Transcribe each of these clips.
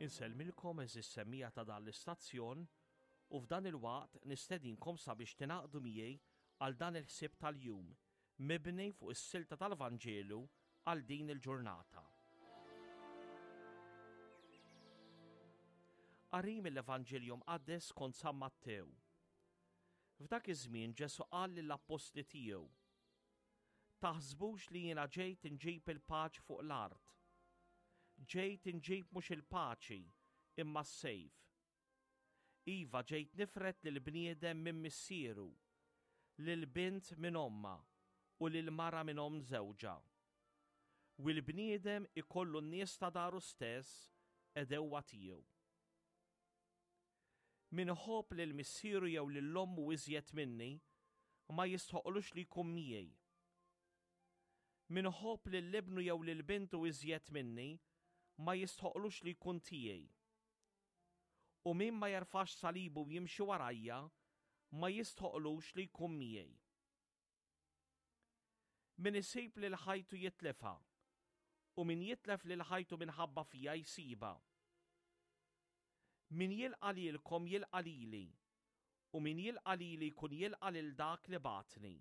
Insellmilkom eżis semmija ta' dan l-istazzjon u f'dan il-waqt nistedinkom sabiex tingħaqdu miegħi għal dan il-ħsieb tal-jum mibni fuq is-silta tal-Vanġelu għal din il-ġurnata. Qari mill-Evanġelju Mqaddes skont San Mattew. F'dak iż-żmien Ġesù qal lill-appostli tiegħu, Taħsbux li jiena ġejt inġib il-paċi fuq l-art. Ġejt inġib mhux il-paċi, imma s-sejf. Iva ġejt nifred lill-bniedem minn missieru, lill-bint minn ommha u lill-mara minn omm żewġha. U l-bniedem ikollu n-nies ta' daru stess għedewwa tiegħu. Min iħobb lil missieru jew lil ommu iżjed minni, ma jistħoqlux li jkun miegħi. Min iħobb lil ibnu jew lil bintu iżjed minni, ma jistħoqlux li jkun tiegħi. U min ma jerfax salibu u jimxi warajja, ma jistħoqlux li jkun miegħi. Min isib lil ħajtu jitlifha, u min jitlef lil ħajtu minħabba fija jsibha. Min jilqa' lilkom jilqa' lili, u min jilqa' lili jkun jilqa' lil dak li bagħatni.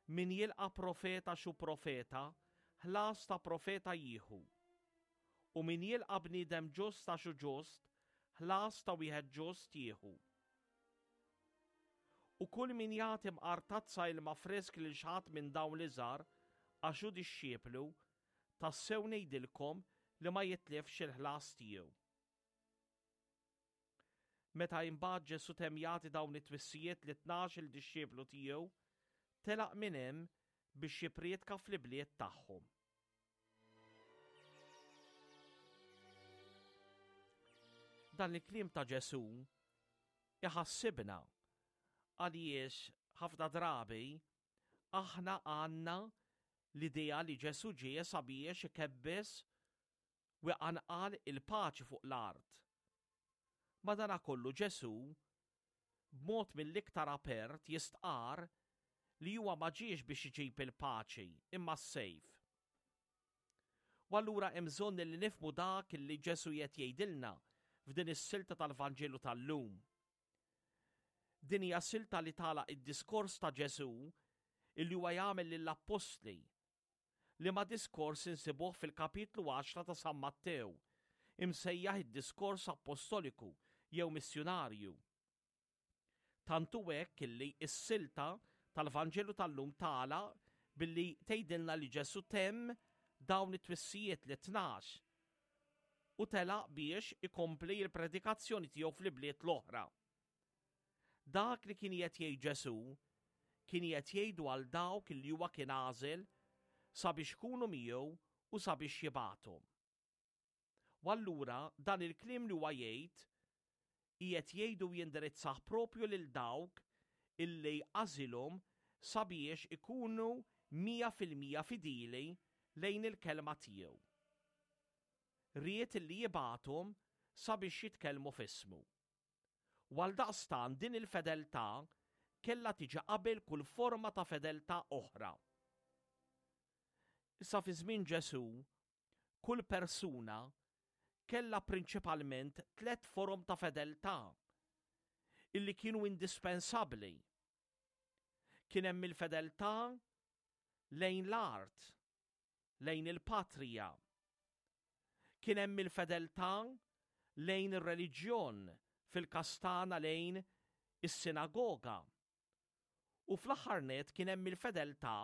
Min jilqa' profeta xu profeta, ħlas ta' profeta jieħu. U min jilqa' bniedem ġust għax hu ġust, ħlas ta' wieħed ġust jieħu. U kull min jagħti mqar tazza ilma frisk lil xi ħadd minn dawn l-iżgħar għax hu dixxieplu, tassew ngħidilkom li ma jitlifx il-ħlas tiegħu. Meta imbagħad Ġesù temm jagħti dawn it-twissijiet lit-tnax-il dixxieplu tiegħu, telaq minn hemm biex jipprietka fl-ibliet tagħhom. Dan il-kliem ta' Ġesù iħassibna għaliex ħafna drabi aħna għandna l-idea li Ġesù ġie sabiex ikebbes u iqanqal il-paċi fuq l-art. Madanakollu Ġesù, b'mod mill-iktar apert jistqarr li huwa ma ġiex biex iġib il-paċi imma s-sejf. U allura hemm bżonn li nifhmu dak li Ġesù qed jgħidilna f'din is-silta tal-Vanġelu tal-lum. Din hija silta li tagħlaq id-diskors ta' Ġesù illi huwa jagħmel lill-appostli liema diskors insibuh fil-kapitlu għaxra ta' San Mattew, imsejjaħ id-diskors appostoliku jew missjunarju. Tant hu hekk illi s-silta tal-Vanġelu tal-lum tagħlaq billi tgħidilna li Ġesù temm dawn it-twissijiet lit-tnax u telaq biex ikompli l-predikazzjoni tiegħu fl-ibliet l-oħra. Dak li kien qiegħed jgħid Ġesù kien qiegħed jgħidu għal dawk li huwa kien għażel sabiex ikunu miegħu u sabiex jibgħathom. U allura dan il-kliem li huwa jgħid qiegħed jgħidu u jindirizzah propju lil dawk illi għażilhom sabiex ikunu 100% fidili lejn il-kelma tiegħu. Ried illi jibgħathom sabiex jitkellmu f'ismu. U għaldaqstant din il-fedeltà kellha tiġi qabel kull forma ta' fedeltà oħra. Issa fi żmien Ġesù, kull persuna kellha prinċipalment tlett forom ta' fedeltà illi kienu indispensabbli. Kien hemm il-fedeltà lejn l-art, lejn il-patrija. Kien hemm il-fedeltà lejn ir-reliġjon fil-każ tagħna lejn is-sinagoga. U fl-aħħar nett kien hemm il-fedeltà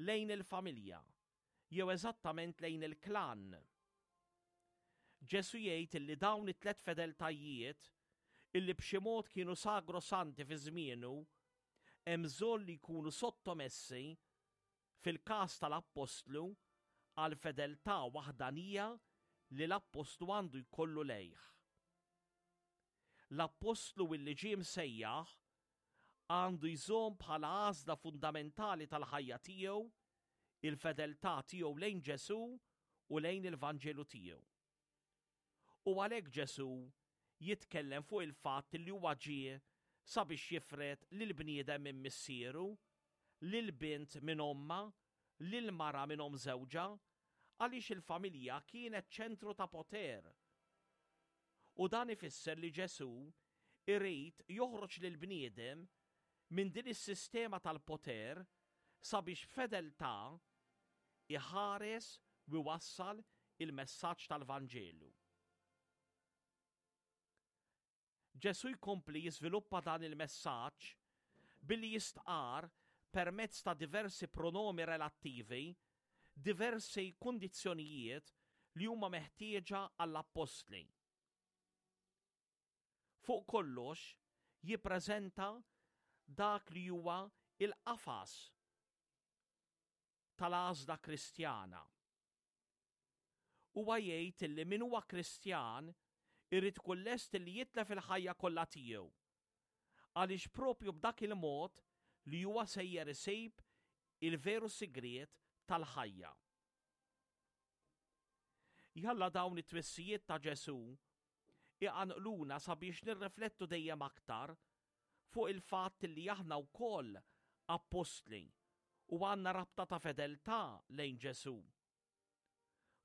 lejn il-familja, jew eżattament lejn il-klan. Ġesù jgħid illi dawn it-tliet fedeltajiet, illi b'xi mod kienu sagrosanti fi żmienu, hemm bżonn li jkunu sottomessi fil-każ tal-appostlu, għall-fedeltà waħdanija li l-appostlu għandu jkollu lejh. L-appostlu illi ġie msejjaħ għandu jżomm bħala għażla fundamentali tal-ħajja tiegħu il-fedeltà tiegħu lejn Ġesù u lejn il-Vanġelu tiegħu. U għalhekk Ġesù jitkellem fuq il-fatt li huwa ġie sabiex jifred lill-bniedem minn missieru, lill-bint minn ommha, lill-mara minn omm żewġha. Għaliex il-familja kienet ċentru ta' poter. U dan ifisser li Ġesù irid joħroġ lill-bniedem minn din is-sistema tal-poter sabiex b'fedeltà iħares u jwassal il-messaġġ tal-Vanġelu. Ġesù jkompli jiżviluppa dan il-messaġġ billi jistqarr permezz ta' diversi pronomi relattivi diversi kundizzjonijiet li huma meħtieġa għall-appostli. Fuq kollox jippreżenta dak li huwa l-qafas tal-għażla Kristjana. Huwa jgħid illi min huwa Kristjan irid ikun lest illi jitlef il-ħajja kollha tiegħu, għaliex propju b'dak il-mod li huwa sejjer isib il-veru sigriet tal-ħajja. Jalla dawn it-twissijiet ta' Ġesù iqanqluna sabiex nirriflettu dejjem aktar fuq il-fatt li aħna wkoll appostli u għandna rabta ta' fedeltà lejn Ġesù.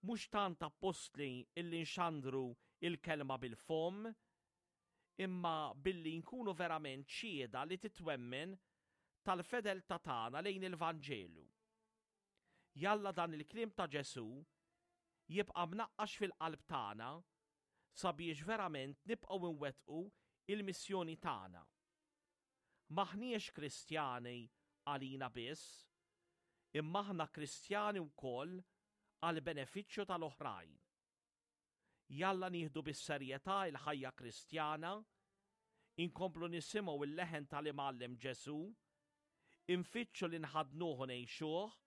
Mhux tant appostli illi nxandru l-kelma bil-fomm, imma billi nkunu verament xhieda li titwemmen tal-fedeltà tagħna lejn il-Vanġelu. Jalla dan il-kliem ta' Ġesù jibqa' mnaqqax fil-qalb tagħna sabiex verament nibqgħu nwettqu l-missjoni tagħna. M'aħniex Kristjani għalina biss, imma aħna Kristjani wkoll għall-benefiċċju tal-oħrajn. Jalla nieħdu bis-serjetà l-ħajja Kristjana, inkomplu nisimgħu l-leħen tal-Imgħallem Ġesù, infittxu li nħaddnuh u ngħixuh,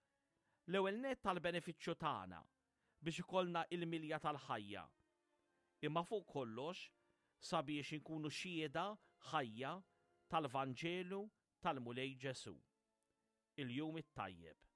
l-ewwel nett għall-benefiċċju tagħna, biex ikollna il-milja tal-ħajja, imma fuq kollox sabiex inkunu xhieda ħajja tal-Vanġelu tal-Mulej Ġesù. Il-Jum it-Tajjeb.